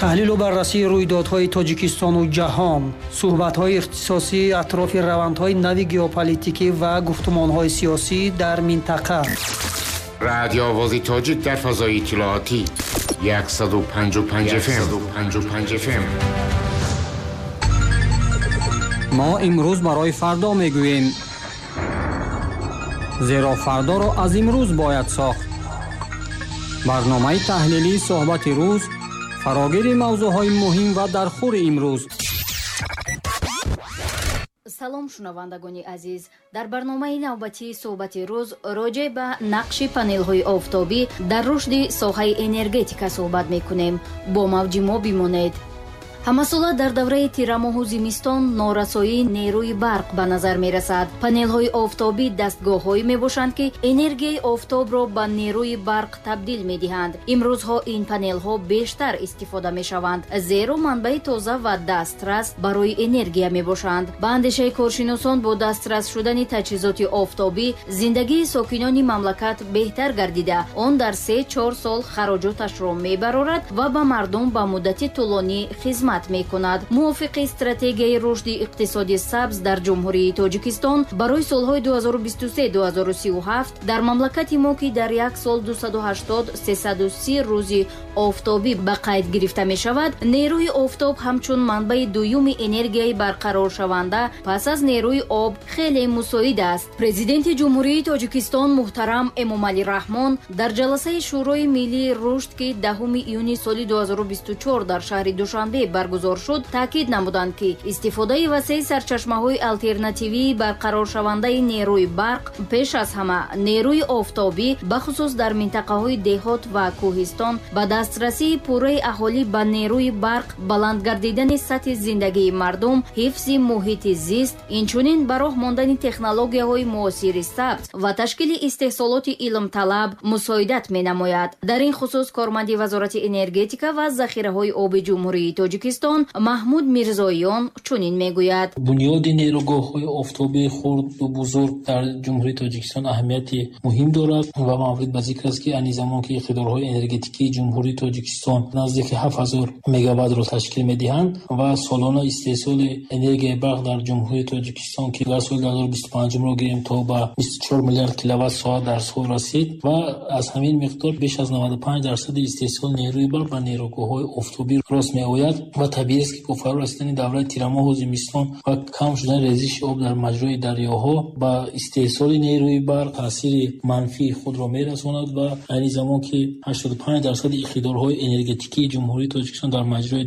Таҳлилу баррасии рӯйдодҳои Тоҷикистону ҷаҳон, суҳбатҳои ихтисосӣ атрофи равандҳои нави геополитикӣ ва гуфтумонҳои сиёсӣ дар минтақа. Радио Овози Тоҷик дар фазои иттилоотӣ 155 FM. 155 FM. Мо имрӯз барои фардо мегӯем, зеро фардоро аз имрӯз бояд сохт. Барномаи таҳлилии суҳбати рӯз, фарогири мавзӯъҳои муҳим ва дархӯри имрӯз. Салом, шунавандагони азиз. Дар барномаи навбатии суҳбати рӯз роҷеъ ба нақши панелҳои офтобӣ дар рушди соҳаи энергетика суҳбат мекунем. Бо мавҷи мо бимонед. Ҳамасола дар давраи тирамоҳу зимистон норасоии нерӯи барқ ба назар мерасад. Панелҳои офтобӣ дастгоҳҳое мебошанд, ки энергияи офтобро ба нерӯи барқ табдил медиҳанд. Имрӯзҳо ин панелҳо бештар истифода мешаванд, зеро манбаи тоза ва дастрас барои энергия мебошанд. Ба андешаи коршиносон, бо дастрас шудани таҷҳизоти офтобӣ зиндагии сокинони мамлакат беҳтар гардида, он дар 3-4 сол хароҷоташро мебарорад ва ба мардум ба муддати тӯлонӣ хизмат мекунад. Мувофиқи стратегияи рушди иқтисоди сабз дар Ҷумҳурии Тоҷикистон барои солҳои 2023-2037 дар мамлакати мо, ки дар як сол 280-330 рӯзи офтобӣ ба қайд гирифта мешавад, нерӯи офтоб ҳамчун манбаи дуюми энергияи барқароршаванда пас аз нерӯи об хеле мусоид аст. Президенти Ҷумҳурии Тоҷикистон муҳтарам Эмомалӣ Раҳмон дар ҷаласаи Шӯрои миллии рушд, ки 10 июни соли 2024 дар шаҳри Душанбе баргузор шуд, таъкид намуданд, ки истифодаи васеи сарчашмаҳои алтернативии барқароршавандаи нерӯи барқ, пеш аз ҳама нерӯи офтобӣ, бахусус дар минтақаҳои деҳот ва кӯҳистон, ба дастрасии пурраи аҳолӣ ба нерӯи барқ, баланд гардидани сатҳи зиндагии мардум, ҳифзи муҳити зист, инчунин ба роҳ мондани технологияҳои муосири сабз ва ташкили истеҳсолоти илмталаб мусоидат менамояд. Дар ин хусус корманди Вазорати энергетика ва захираҳои оби Ҷумҳурии Тоҷикистон Маҳмуд Мирзоён чунин мегӯяд. Бунёди нерӯгоҳҳои офтобии хурду бузург дар Ҷумҳурии Тоҷикистон аҳамияти муҳим дорад ва маврид ба зикр аст, ки айни замон ки иқтидорҳои энергетикии Ҷумҳурии Тоҷикистон наздики 7000 мегаваттро ташкил медиҳанд ва солона истеҳсоли энергияи барқ дар Ҷумҳурии Тоҷикистон, ки дар соли 2025 гирем, то ба 24 миллиард киловатт соат дар сол расид ва аз ҳамин миқдор беш аз 95% истеҳсоли нерӯи барқ ба нерӯгоҳҳои офтобӣ рост меояд. Ва табиӣ аст, ки бо фаро расидани давраи тирамоҳу зимистон ва кам шудани резиши об дар маҷрои дарёҳо ба истеҳсоли нерӯи барқ таъсири манфии худро мерасонад ва айни замон ки 85% иқтидорҳои энергетикии Ҷумҳурии Тоҷикистон дар маҷрои